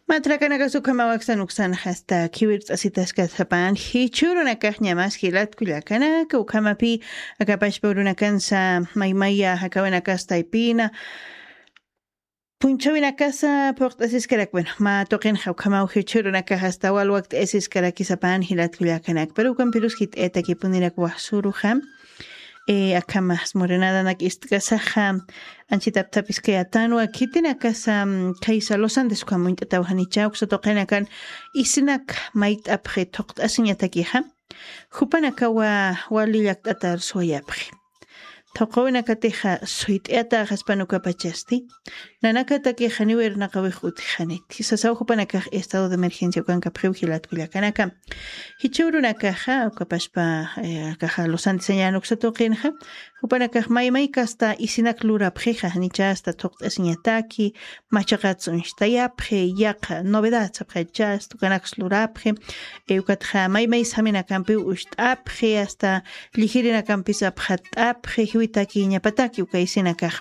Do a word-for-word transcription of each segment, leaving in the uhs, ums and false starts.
Matrakanakasu ukhama waksan uksan hasta khiwirt'asitaskasapan jichhurunakax ñamas jilat kullakanaka ukhamapï akapashpa urunakansa maymaya jakawinakastaypina punchawinakasa phuqt'asiskarak. Bueno, mä tuqinxa ukhamaw jichhurunakax hasta walwakt'ayasiskarakisapan jilat kullakanak pero ukampirus jit'ayatakipunirakwasuruxa. Akhamas murinadanak ist'kasaxa anchitaptapiskayatanwa khitinakasa khaysa los andes ukham uñt'ataw janicha uksa tuqinakan isinak mayt'apxi thuqt'asiñatakixa jupanakawa wali llakt'atar suwayapxi. Thuqawinakatixa suyt'ayataxaspan ukapachasti nanakatakixa niwirnaqawix utixaniti sasaw jupanakax estado de emergencia ukankapxiw jilat kullakanaka. Jichhürunakaxa ukapashpa akaxa lusantisañan uksa tuqinxa jupanakax maymaykasta isinak lurapxixa janichasta thuqt'asiñataki machaqat sunchtayapxi yaqa novedad sapxachasta ukanaksa lurapxi. Ukatxa maymay saminakampiw ucht'apxi asta llijirinakampi sapxat'apxi jiwitakiñapataki uka isinakax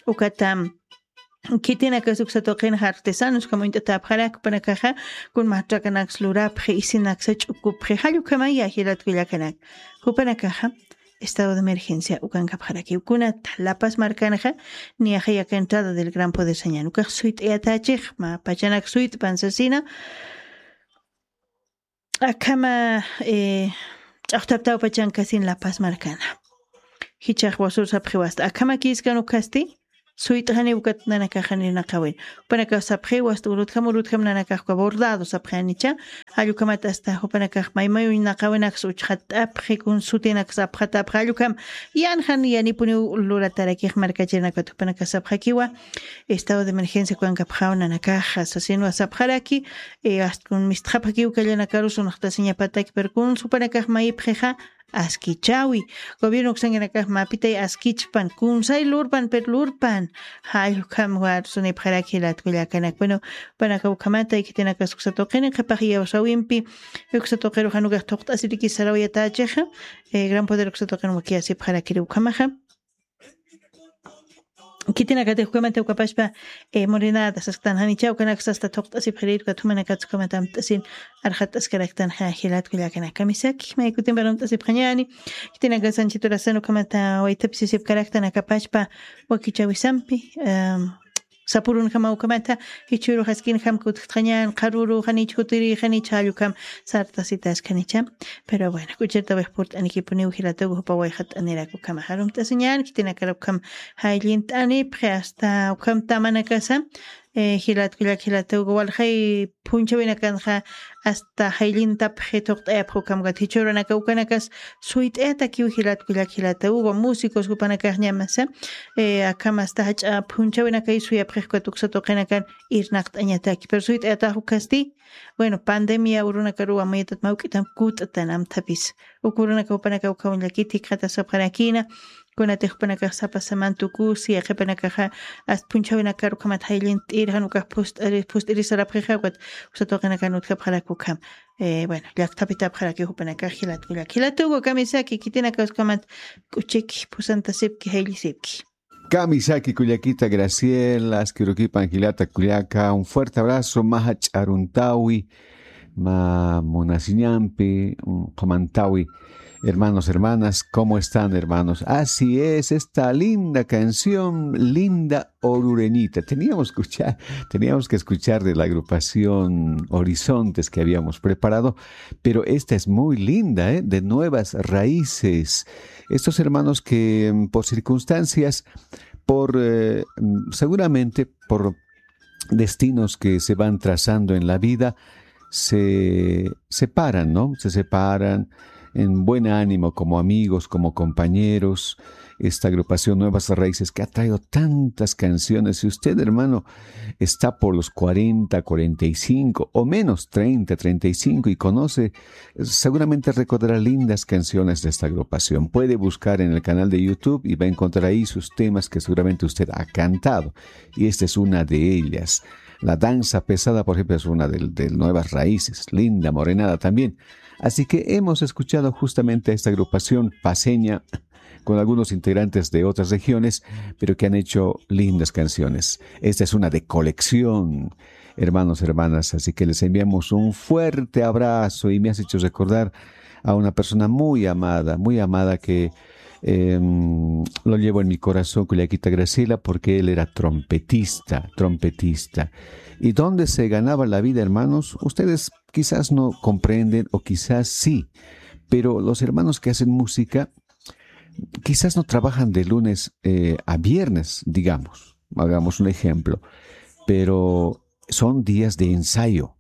ukata khitinakas uksa tuqinxa artesanos ukham uñt'atäpxarak jupanakaxa kun matrakanaksa lurapxi isinaksa ch'ukupxi jall ukhamaya jilat kullakanak. Jupanakaxa estado de emergencia ukankapxarakiw kunata lapas markanxa niyaxa yaka entrada del gran poder sañan ukax suyt'ayatächix mä pachanak suyt'pan sasina. Akhama ch'aqtaptaw pachankasin lapas markana jichax wasur sapxiwasta akhama kiskan ukhasti suyt'xani ukat nanakaxanir naqawin jupanakax sapxiwasta urutjam urutjam nanakaxka bordado sapxanicha. Jallukhamat asta jupanakax maymayuñ naqawinaksa uchxatt'apxi kun sutinaksa apxatapxi jallukham yanxan yanipuniw luratarakix markachirinakat jupanakax sapxakiwa. Estado de emergencia kukankapxaw nanakaxa sasinwa sapxaraki. Astkun mistxapxakiw kallanakarus unxtasiñapataki pero kun supanakax mayipxixa askichawi gobierno uksankanakax mapitay askichpan kunsay lurpan pero lurpan. Jallukam warsunipxaraki jilat kullakanak bueno panaka ukhamata ikitinakas uksa tuqini qhipax iyawsawimpi uksa tuqiruxan ukax thuqt'asiriki sarawayatachixa. Gran poder uksa tuqin wakiyasipxarakiri ukhamaxa. Khitinakatix ukhamata ukapashpa murinata sasktan janicha ukanaksa asta thuqt'asipxirir ukat jumanakatsa ukhamata amt'asin arxat'askaraktan jilat kullakanaka misaki maykutimpa amt'asipxañani. Khitinakas anchiturasan ukhamata waythapisisipkaraktan akapashpa wakichawisampi sapurunjama ukhamata jichhürux askinjam kutjtxañan qharürux janich jutirix janich jallukam sartasitaskanicha. Pero bueno k'uchirtawix purt'anikipuniw jilatugu jupa wayxat'anirak ukhama jarumt'asiñan khitinakar ukham jayllint'anipxi asta ukham tamanakasa. Jilat kullak jilatugu walxay phunchhawinakanxa asta jayllintapxi thuqt'ayapxi ukham ukat jichhürunaka ukanakas suyt'ayatakiw jilat kullak jilatugu músicos jupanakax ñamasa. Akham asta jach'a phunchhawinakay suyapxix ukat uksa tuqinakan irnaqt'añataki pero suyt'ayatax ukhasti. Bueno pandemia urunakaruw amuyatat mawk'itam kut'tan amthapis uk urunaka jupanaka ukham llakit jikxatasapxarakina. Kunatix jupanakax sapa saman tukusi yaqhipanakaxa asta phunchhawinakar ukhamat jayllint'ir jan ukax phust'irisarapxixa ukat uksa tuqinakan utjapxarak ukham. Bueno llakthapitapxaraki jupanakax jilat kullak jilatugu kamisaki khitinakax ukhamat k'uchiki phusantasipki jayllisipki. Kamisaki kullakita Graciela askirukipan jilata kullaka un fuerte abrazo maja ch'aruntawi. Ma munasiñampi qhumantawi. Hermanos, hermanas, ¿cómo están, hermanos? Así es, esta linda canción, linda orureñita. Teníamos que escuchar, teníamos que escuchar de la agrupación Horizontes que habíamos preparado, pero esta es muy linda, ¿eh? De Nuevas Raíces. Estos hermanos que mm, por circunstancias, por eh, mm, seguramente por destinos que se van trazando en la vida, se separan, ¿no? Se separan en buen ánimo, como amigos, como compañeros. Esta agrupación Nuevas Raíces que ha traído tantas canciones. Si usted, hermano, está por los cuarenta, cuarenta y cinco o menos, treinta, treinta y cinco y conoce, seguramente recordará lindas canciones de esta agrupación. Puede buscar en el canal de YouTube y va a encontrar ahí sus temas que seguramente usted ha cantado. Y esta es una de ellas. La danza pesada, por ejemplo, es una de, de nuevas raíces. Linda morenada también. Así que hemos escuchado justamente a esta agrupación paceña con algunos integrantes de otras regiones, pero que han hecho lindas canciones. Esta es una de colección, hermanos, hermanas, así que les enviamos un fuerte abrazo y me has hecho recordar a una persona muy amada, muy amada que em, lo llevo en mi corazón, Cullaquita Graciela, porque él era trompetista, trompetista. ¿Y dónde se ganaba la vida, hermanos? Ustedes quizás no comprenden o quizás sí, pero los hermanos que hacen música quizás no trabajan de lunes eh, a viernes, digamos, hagamos un ejemplo, pero son días de ensayo,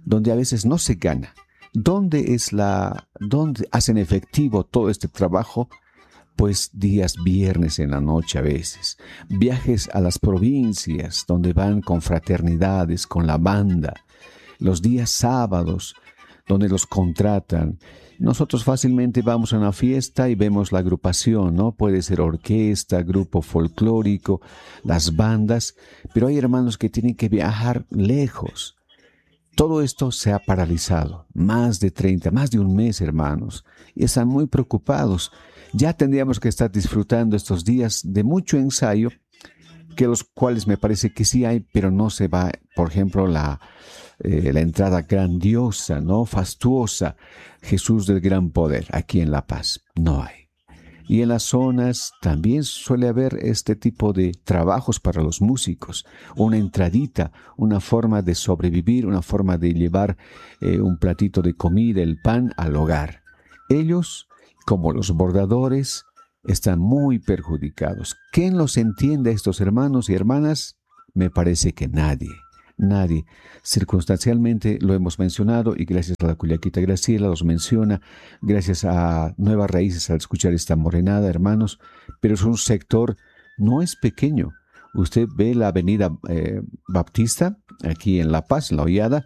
donde a veces no se gana. ¿Dónde es la, dónde hacen efectivo todo este trabajo? Pues días viernes en la noche a veces, viajes a las provincias donde van con fraternidades, con la banda, los días sábados donde los contratan. Nosotros fácilmente vamos a una fiesta y vemos la agrupación, ¿no? Puede ser orquesta, grupo folclórico, las bandas, pero hay hermanos que tienen que viajar lejos. Todo esto se ha paralizado. Más de treinta, más de un mes, hermanos. Y están muy preocupados. Ya tendríamos que estar disfrutando estos días de mucho ensayo, que los cuales me parece que sí hay, pero no se va, por ejemplo, la, eh, la entrada grandiosa, ¿no? Fastuosa, Jesús del Gran Poder, aquí en La Paz. No hay. Y en las zonas también suele haber este tipo de trabajos para los músicos, una entradita, una forma de sobrevivir, una forma de llevar eh, un platito de comida, el pan al hogar. Ellos, como los bordadores, están muy perjudicados. ¿Quién los entiende a estos hermanos y hermanas? Me parece que nadie. Nadie. Circunstancialmente lo hemos mencionado y gracias a la Cullaquita Graciela los menciona, gracias a Nuevas Raíces al escuchar esta morenada, hermanos, pero es un sector, no es pequeño. Usted ve la avenida eh, Baptista, aquí en La Paz, en La Hoyada,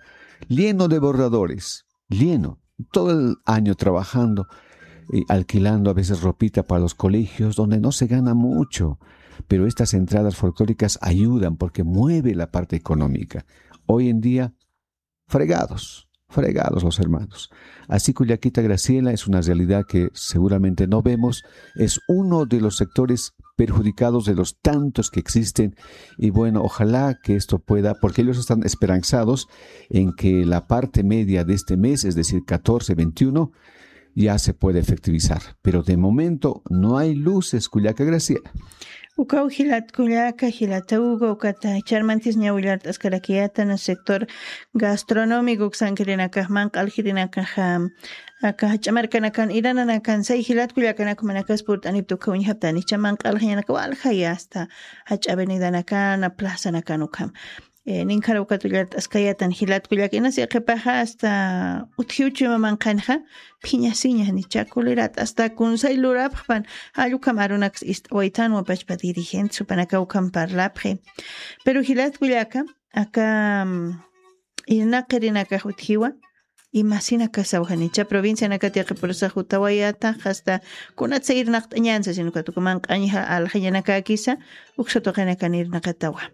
lleno de bordadores, lleno, todo el año trabajando, y alquilando a veces ropita para los colegios, donde no se gana mucho, pero estas entradas folclóricas ayudan porque mueve la parte económica. Hoy en día, fregados, fregados los hermanos. Así Cullaquita Graciela es una realidad que seguramente no vemos, es uno de los sectores perjudicados de los tantos que existen y bueno, ojalá que esto pueda, porque ellos están esperanzados en que la parte media de este mes, es decir, catorce, veintiuno, ya se puede efectivizar. Pero de momento no hay luces, Cullaca Graciela. Ukaw jilat Cullaca, jilata Hugo, ukata charmantis ñawillart'askarakiyata na sector gastronómico uksankirinakax manq'alkirinakaxa aka jach'a markanakan irananakan say jilat Cullacanaku manakas purt'anipta ukaw ñajaptani cha manq'alkiñanaka walja y hasta jach'a avenidanakana plazanakan ukham. Ninkhara ukat ullart'askayatan jilat Cullaca inasi qhipaxa hasta utjiw chuyma manqhanxa phiñasiña janicha kulirat hasta kunsay lurapxpan. Jall ukham arunaks ist'awaytanwa pachpa dirigentes jupanaka ukham parlapxi. Pero jilat Cullaca aka irnaqirinakax utjiwa imasinakasaw janicha provincianakat yaqhipurusax jutawayata hasta kunatsa irnaqt'añansa sino katukuman q'añja aljañanakakisa. Uksa tuqinakan irnaqatawa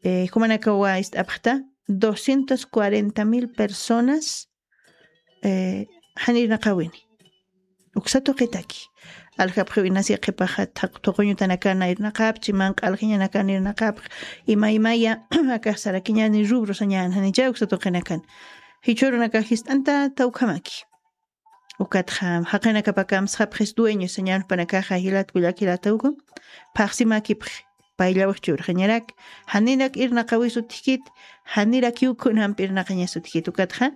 jumanakawa ist'apxta doscientos cuarenta mil personas jan irnaqawini. Uksa tuqitaki aljapxiw inasi qhipaxa thaq thuquñutanakana irnaqapchi manq'a aljañanakana irnaqapx imaymaya akax sarakiñani rubro sañan janicha uksa tuqinakan jichhurunakax jist'anta tawkhamaki. Ukatxa jaqinakapa kamsxapxis dueños sañan jupanakaxa jilat Cullaca jilatawku phaxsimakipxi. Payllawix churxañarak janirak irnaqawis utjkit janirakiw kunamp irnaqañas utjkit ukatxa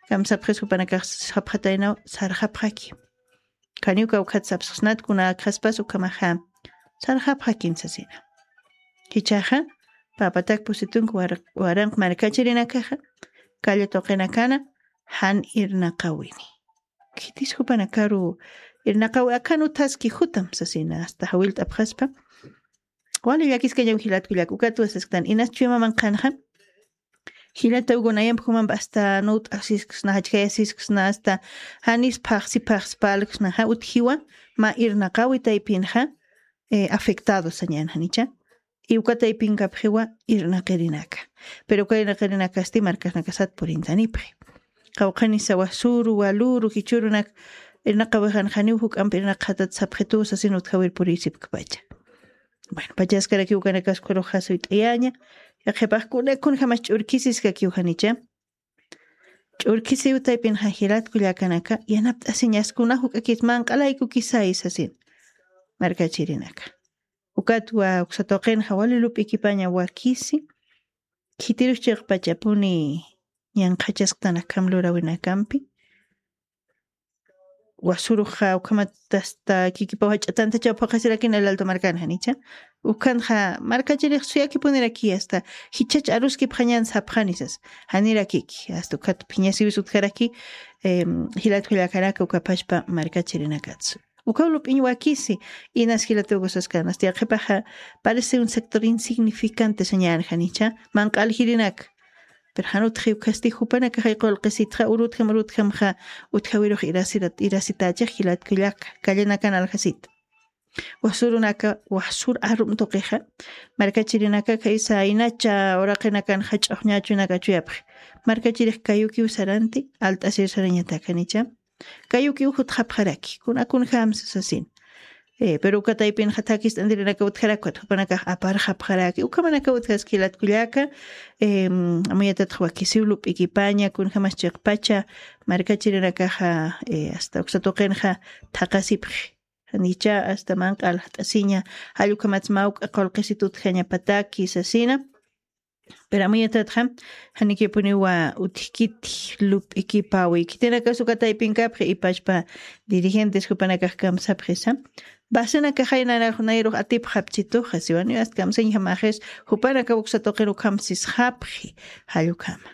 kamsapxis jupanakax sapxataynaw sarxapxaki. Kaniw kawkhat sapsxsnat kuna akxaspas ukhamaxa sarxapxakin sasina. Jichhaxa papatak pusitunk waranq markachirinakaxa kalla tuqinakana jan irnaqawini. Khitis jupanakaru irnaqawi akan uthaski jutam sasina hasta jawillt'apxaspa. Wali llakiskañaw jilat Cullaca ukatwa sasktan inas chuyma manqhanxa jilata ugu nayamp jumamp hasta nut'asisksna jachkayasisksna hasta janis phaxsi phaxsi parlksna ja utjiwa mä irnaqawi taypinxa afectado sañan janicha. Y uka taypinkapxiwa irnaqirinaka. Pero uka irnaqirinakasti markasnakasat purintanipxi. Qawqhanisawa suru waluru jichhurunak irnaqawijan janiw juk'ampi irnaqatat sapxituw sasin utjawir puriysipkpacha. Bueno, pachaskarakiw ukanakas ukharux jasuyt'ayaña. Yaqhipaxkuna kunjamas ch'urkisiskakiw janicha. Ch'urkisiw taypinxa jilat kullakanaka yanapt'asiñaskuna juk'akis manq'alaykukisay sasin. Markachirinaka ukatwa uksatuqinxa wali lup'ikipaña wakisi. Khitirus chiqpachapuni ñanqhachasktan akham lurawinakampi. Wasuruxa ukhamat asta kikipaw jach'atantachaw phuqasirakin el alto markan janicha. Ukhanxa markachirix suyakipuniraki asta jichhach aruskipxañan sapxanisas. Janirakiki asta ukhat phiñasiwis utjaraki. Jilat jullakaraka ukapachpa markachirinakatsu ukaw lup'iñ wakisi. Inas jilatukusaskan asta yaqhipaxa parece un sector insignificante sañan janicha manq'al jirinaka. Pero jan utjiw kasti jupanakaxay qulqisitxa urutjam urutjamxa utjawirux irasirat irasitächix jilatkullaka kallanakan aljasita. Wasurunaka wasur arum tuqixa markachirinaka khaysa inacha uraqinakan jach'uxñachunaka chuyapxi. Markachirix kayukiw saranti alt'asir sarañatakanicha. Kayukiw jutxapxaraki kuna kunjamsa sasin. Pero uka taypinxa thakist'antirinaka utjarakpat jupanakax aparxapxaraki ukhamanaka utjaski jilatkullaka. Amuyatatxa wakisiw lup'ikipaña kunjamas chiqpacha markachirinakaxa asta uksa tuqinxa thaqasipxi. Janicha asta manq'a alxt'asiña jall ukhamats mä uk'a qulqisit utjañapataki sasina. Pero amuyatatxa janikipuniwa utjkiti lup'ikipawi khitinakas uka taypinkapxi ipachpa dirigentes jupanakax kamsapxisa. Basenakaxay nanax nayrux atipxapchituxa siwaniw asta kamsañjamaxis jupanakaw uksa tuqin ukham sisxapxi. Jall ukhama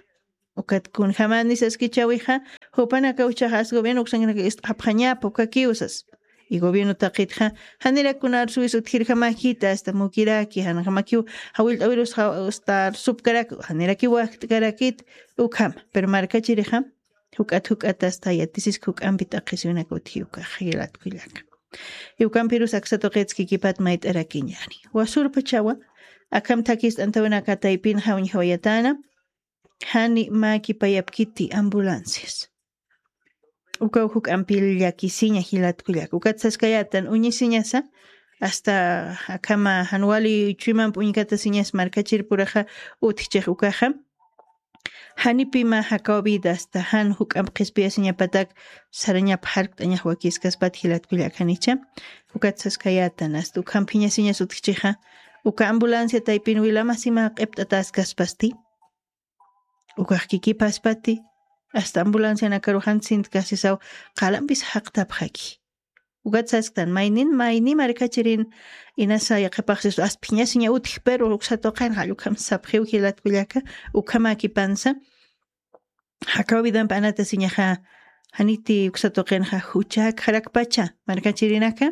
ukat kunjamani saskichawixa jupanakaw ichaxa as gobierno uksankanaka ist'xapxañapa ukakiw sas. Y gobierno taqitxa janirak kuna arsuwis utjirjamakita asta mukiraki janjamakiw jawillt'awirus asta arsupkarak janirakiw wajt'karakit. Ukhama pero markachirixa juk'at juk'at asta yatisisk juk'ampi t'aqhisiwinaka utji ukax jilatkullaka. Y ukampirus aksa tuqitskikipat mayt'arakiñani wasurpachawa akham thakist'antawinaka taypinxa uñjawayatana. Jani mäkipayapkiti ambulancias ukaw juk'ampi llakisiña jilatkullaka ukat saskayätan uñisiñasa. Asta akhama jan wali chuymamp uñkatasiñas markachirpuraxa utjchix ukaxa janipima jakaw vida asta jan juk'amp qhispiyasiñapatak sarañap jarkt'añax wakiskaspat jilatkullaka janicha. Ukat saskayätan asta ukham phiñasiñas utjchixa uka ambulancia taypin wilamasima q'ipt'ataskaspasti. Ukax kikipaspati asta ambulancianakaruxan sintkasisaw qalampis jaqtapxaki. Ukat sasktan maynin mayni markachirin inasa yaqhipaxsistu aspiñasiña utji pero uksa tuqin jall ukham sapxiw jilatkullaka. Ukhamakipansa jakaw vidamp anatasiñaxa janiti uksa tuqinxa juchak jarakpacha markachirinaka.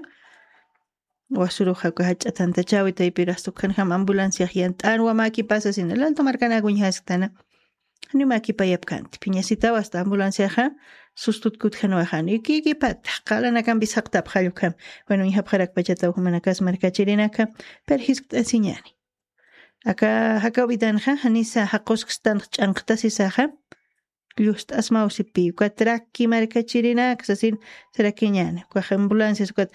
Wasuruxa uka jach'atantachawi taypir asta ukhanjam ambulanciax yant'anwa mäkipasasina laltu markanak uñjasktana. Janiw mäkipayapkanti phiñasitaw asta ambulanciaxa sustutkutjanwa janiw kikipata qalanakampis jaqtapxall ukham. Bueno uñjapxarakpachataw jumanakas markachirinaka perjiskt'asiñani. Aka jakaw vidanxa janisa jaquskstan ch'anqtasisaxa llust'asmaw sipi ukat rakki markachirinak sasin sarakiñäni ukax ambulancias ukat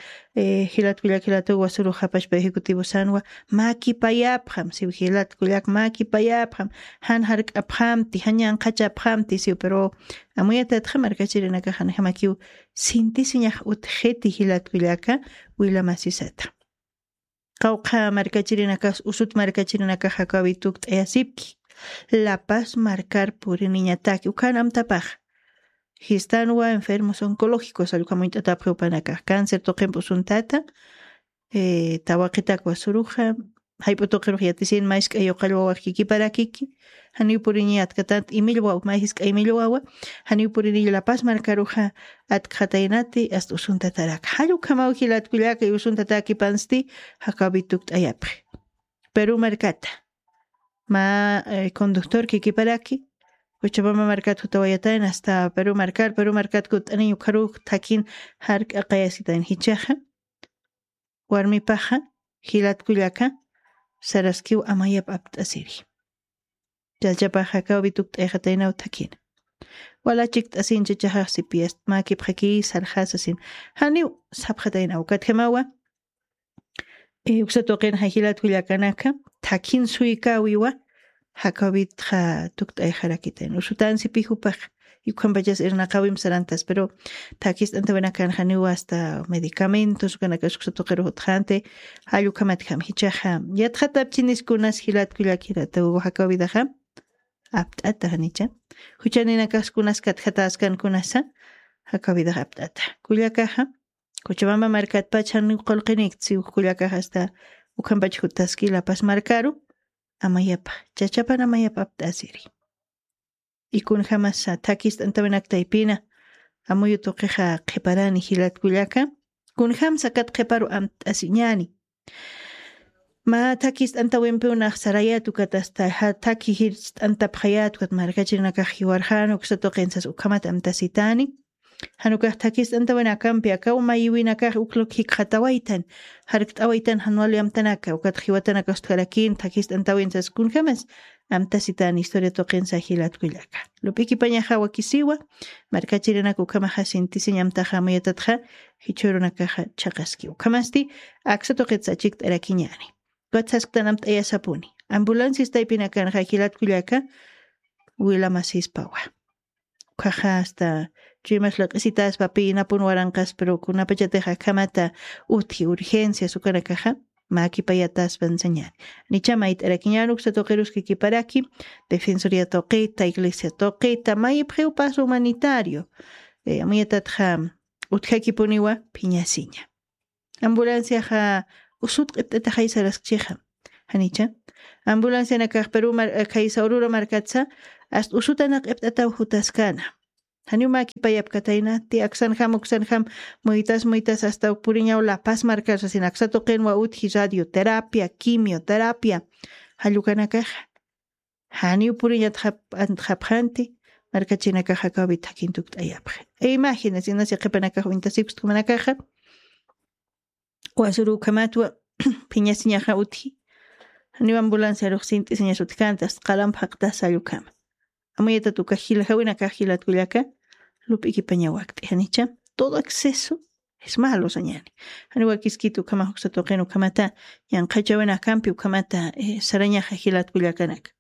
jilatkullak jilatuw wasurux japachpa ejecutivo sanwa mäkipayapxam siw jilatkullak mäkipayapxam jan jark'apxamti jan ñanqhachapxamti siw pero amuyatatxa markachirinakax janjamakiw sintisiñax utjiti jilatkullaka wilamasisata. Qawqha markachirinakas usut markachirinakax jakawi tukt'ayasipki lapas markar puriniñataki ukhan amtapax jistanwa enfermos oncológicos allukhamuñt'atapxi upanakax cáncer tuqimp usuntata tawaqitak wasuruxa jayp'u tuqirux yatisin mask'ay uqallwawax kikiparakiki janiw puriniñatkatat imillwaw majisk'ay imillwawa janiw puriniñ lapas markaruxa atkxataynati asta usuntataraka jall ukhamaw jilatkullaka y usuntatakipansti jakawi tukt'ayapxi. Peru markata mä conductor kikiparaki uchapama markat jutawayatayn asta peru markar peru markat kutt'aniñ ukharuk thakin jark'aqayasitan jichaxa warmipaxa jilatkullaka saraskiw amayap apt'asiri. Challchapax jakaw vitukt'ayxataynaw thakina Wala chikt'asin chachaxax sipiast mäkipxaki sarxasasin. Janiw sapxatayna ukatjamawa. Uksa tuqin jajilat kullakanaka thakin suykawiwa. Jakawitxa tukt'ayxarakitayn usutansipi jupax. Yukhampachas irnaqawim sarantas pero thakist'antawinakan janiw asta medicamentos ukanakas uksa tuqiru jutxanti. Jallukhamatjam jichaxa yatxatapchiniskunas jilat kullakirata ugu jakawidaxa. Apt'ata janicha juchaninakaskunas katjataskankunasa. Jakawidax apt'ata kullakaxa. Kuchamamba markatpach janiw qulqinikta siw kullakax asta ukhampach jutaski lapas markaru. Amayapa chachapan amayapa apt'asiri. Ikunjamasa thakist'antawinak taypina amuyu tuqixa qhiparani jilat kullaka. Kunjamsa kat qhiparu amt'asiñani. Mä thakist'antawimpiw naxsarayät ukat asta thaki jirst'antapxayät ukat markachirinakax jiwarxan uksa tuqinsas ukhamat amtasitani. Jan ukax thakist'antawinakampi akaw mayiwinakax ukluk jikxatawaytan jarkt'awaytan jan wali amtanaka ukat jiwatanakas utjarakïn thakist'antawinsas kunjämas. Amtasitan historia tuqinsa jilat kullaka lup'ikipañaxa wakisiwa. Markachirinak ukhamaxa sintisiñ amtaxa amuyatatxa jichhürunakaxa chhaqaski ukhamasti aksa tuqitsa chikt'arakiñäni. Ukat sasktan amt'ayasapuni ambulancias taypinakanxa jilat kullaka. Wilamasispawa ukhaxa asta chuymas laq'isitaspa pi inapun waranqas pero kunapachatix akhamata utji urgencias ukanakaxa. Mäkipayataspan sañäni nicha mayt'arakiñäni uksa tuqiruski kiparaki defensoría tuqita iglesia tuqita mayipxiw paso humanitario. Amuyatatxa utjakipuniwa phiñasiña. Ambulanciaxa usut q'ipt'ataxay saraskchixa. Janicha ambulancianakax peru khaysa urura markatsa asta usutanak q'ipt'ataw jutaskana. Janiw mäkipayapkatayna ti aksanjam uksanjam muytas muytas asta puriñaw lapas markarsasin aksa tuqinwa utji radioterapia quimioterapia. Jallukanakaxa janiw puriñat japxanti. Markachinakaxa kawit jakin tukt'ayapxi. Imagina sinas yaqhipanakax uñtasikuskumanakaxa wasuru ukhamatwa phiñasiñaxa utji. Janiw ambulanciarux sint'isiñas utjkanta asta qalamp jaqtas sallukhama. Amuyatat uka jilajawinakax jilat kullaka lup'ikipaña wakt'i janicha todo exceso. Es malo sañäni. Janiw wakiskit ukhamax uksa tuqin ukhamata yanqhachawinakampi ukhamata sarañaxa jilat kullakanaka.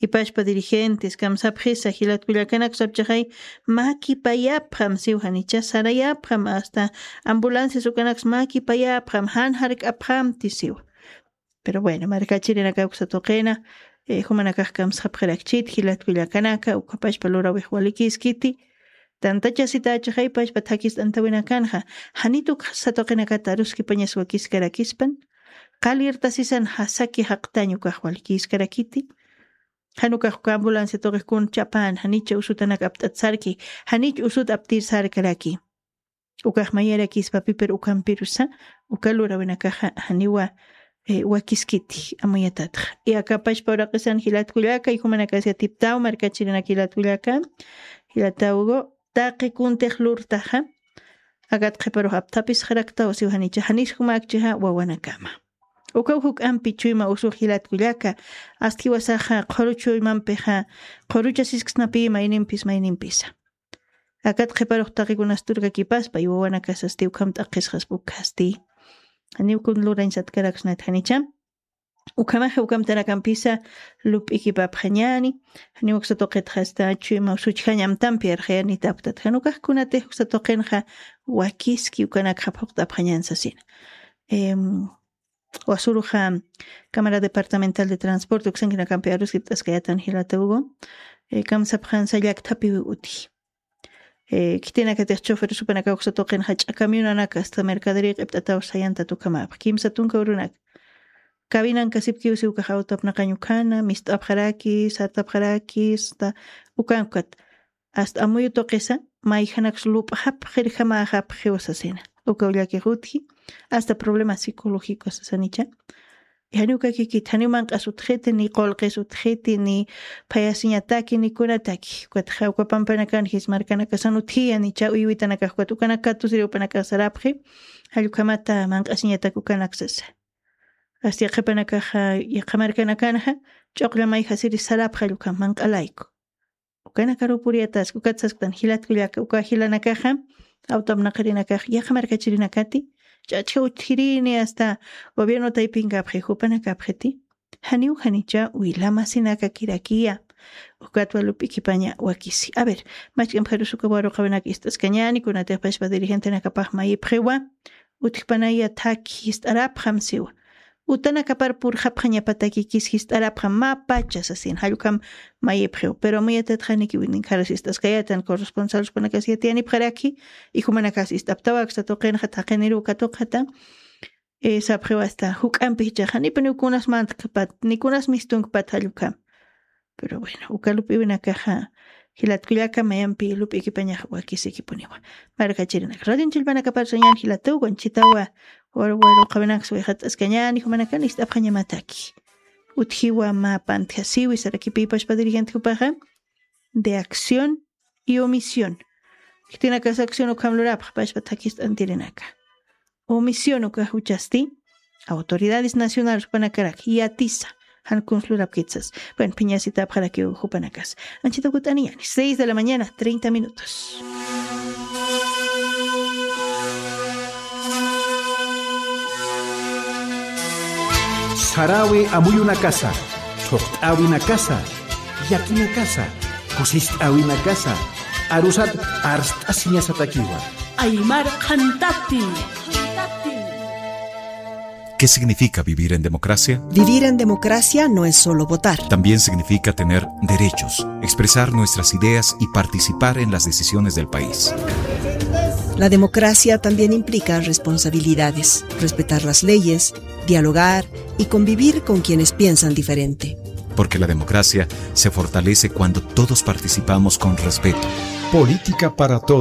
Ipachpa dirigentes kamsapxisa jilat kullakanak sapchaxay mäkipayapxam siw janicha sarayapxam asta ambulancias ukanaks mäkipayapxam jan jark'apxamti siwa. Pero bueno markachirinaka uksa tuqina jumanakax kamsxapxirakchit jilat kullakanaka ukhapachpa lurawix walikiskiti. Tantachasitachaxay pachpa thakist'antawinakanxa janit uksa tuqinakata aruskipañas wakiskarakispan. Qalirtasisan jasaki jaqtañ ukax walikiskarakiti. Jan ukax uka ambulancia tuqix kun chapan janicha usutanak apt'at sarki janich usut aptir sarkaraki. Ukax mayarakispapi pero ukampirusa uka lurawinakaxa janiwa wakiskiti amuyatatxa. Y akapachpa uraqisan jilat kullaka y jumanakasi atiptaw markachirinak jilat kullaka jilatawgu taqi kuntix lurtaxa. Akat qhiparux apthapisxaraktaw siw janicha janis jumäkchixa wawanakama. Ukaw juk'ampi chuyma usux jilat kullaka. Ast jiwasaxa qhuru chuymampixa qhuruchasisksnapi maynimpis maynimpisa. Akat qhiparux taqikunas turkakipaspa y wawanakasasti ukham t'aqisxaspa ukhasti. Janiw kun lurañ satkaraksnat janicha. Ukhamaxa ukamtanakampisa lup'ikipapxañani. Janiw uksa tuqitxasta chuyma usuchjañ amtampi arxayanitaptat jan ukax kunatix uksa tuqinxa wakiski ukanakxa phuqt'apxañan sasina. Wasuruxa cámara departamental de transporte uksankinakampi aruskipt'askayatan jilata hugo. Kamsapxansa llakthapiwi utji. Khitinakatix chofer supanaka uksa tuqinxa ch'akamiyunanaka asta mercadería q'ipt'ataw sayantat ukhamapx kimsa tunka urunaka. Kawinankasipkiw siwkax awtapnaqañ ukhana mist'apxaraki sartapxaraki asta ukankat. Asta amuyu tuqisa mayjanaks lup'xapxirjamäxapxiw sasina. Ukaw llakix utji asta problema psicológico sasanicha. Janiw kakikit janiw manq'as utjiti ni qulqis utjiti ni phayasiñataki ni kunataki ukatxa uka pampanakan jismarkanakasan utjiya nicha uywitanakax ukat ukanak katusiri upanakax sarapxi. Jallukhamata manq'asiñatak ukanak sasa. Asta yaqhipanakaxa yaqha markanakanxa ch'uqlla mayjasiri sarapxa llukha manq'alayku. Ukanakaru puriyataski, ukat sasktan jilat kullaka, uka jilanakaxa, awtamnaqarinakax, yaqha markachirinakati, ch'ach'a utjirini hasta gobierno taypinkapxi, jupanakapxiti. Janiw janicha wila masinakakirakiya. Ukatwa lup'ikipaña wakisi. A ver, machk'ampxarus uka waruqawinak ist'askañäni, kunatix pachpa dirigentenakapax mayipxiwa. Utjpanaya thaki jist'arapxam siwa. Utanakapar purxapxañapatakikis jist'arapxam mä pacha sasin, jallukam mayipxiw. Pero amuyatax janikiw ninkharas ist'askayätan, corresponsal supanakas yatiyanipxaraki, y jumanakas ist'aptawaksa tuqinxa thaqiniruw katuqata. Eh, sapxiw hasta juk'ampi jichhaxa, nipi nikunas mantkpat, nikunas mistunkpat jallukam. Pero bueno, uka lup'iwinakaxa, jilat kullaka, mayampi lup'ikipañax wakisikipuniwa. Markachirinak. Radio Chillpanakapar sañan jilatuw, wanchitawa, waru, waruqawinak suwixat'askañäni, jumanakan ist'apxañamataki. Utjiwa mä pantjasiwi, sarakipï pachpa dirigente jupaxa, de acción y omisión. Khitinakasa acción ukham lurapxi, pachpa thakist'antirinaka. Omisión uka juchasti, autoridades nacionales jupanakarak, yatisa, jan kuns lurapkit sas. Bueno, phiñasitapxarakiw jupanakas. Anchita kut'aniñäni, seis de la mañana, treinta minutos. Saräwi amuyunakasa, thuqt'äwinakasa, llakinakasa, kusist'äwinakasa, arusat arst'asiñasatakiwa. Aymar Qhantati. ¿Qué significa vivir en democracia? Vivir en democracia no es solo votar. También significa tener derechos, expresar nuestras ideas y participar en las decisiones del país. La democracia también implica responsabilidades, respetar las leyes, dialogar y convivir con quienes piensan diferente. Porque la democracia se fortalece cuando todos participamos con respeto. Política para todos.